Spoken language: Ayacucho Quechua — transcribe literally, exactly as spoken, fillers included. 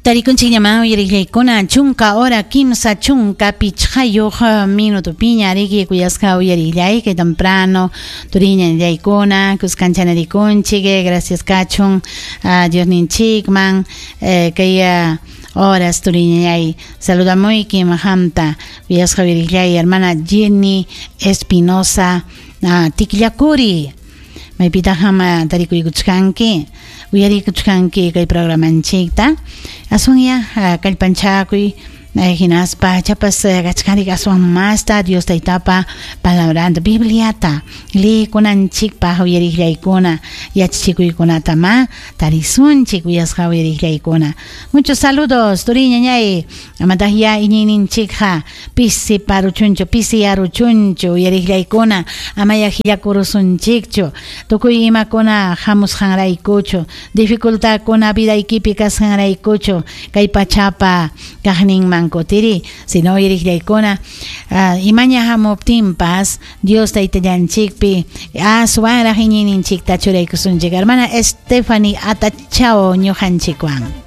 Tarikunchik ñaman uyariqllaykuna chunka hora kimsa chunka pichqayuq minutupiña riki kuyasqa uyariqllay kay temprano turiñallaykuna kuskancha narikunchik gracias kachun uh, Diosninchikman eh, kay uh, horas turiñay saludamuyki mahamta kuyasqa uyariqllay hermana Jenny Espinosa uh, Tikllakuri maypitaq tarikuykuchkanki uyarikuchkanki kay programanchikta aswanya kallpanchakuy hinaspa chapas kachkarik aswan masta Dios taytapa palabranta Bibliata liykunanchikpaq uyariqllaykuna yachachikuykunata ma tarisunchik uyasqa uyariqllaykuna. Muchos saludos turiñañay amataq ya iñiyninchikqa pisi paruchunchu pisi yaruchunchu uyariqllaykuna amaya hillakurusunchikchu tukuy imakuna hamusqanraykuchu dificultadkuna vidaykipi kasqanraykuchu kay pachapa kaqninman kutiri sino uyariqllaykuna uh, imaña hamuptinpas Dios taytallanchikpi aswanraq iñiyninchikta churaykusunchik. Hermana Stephanie Atachao ñuqanchikwan.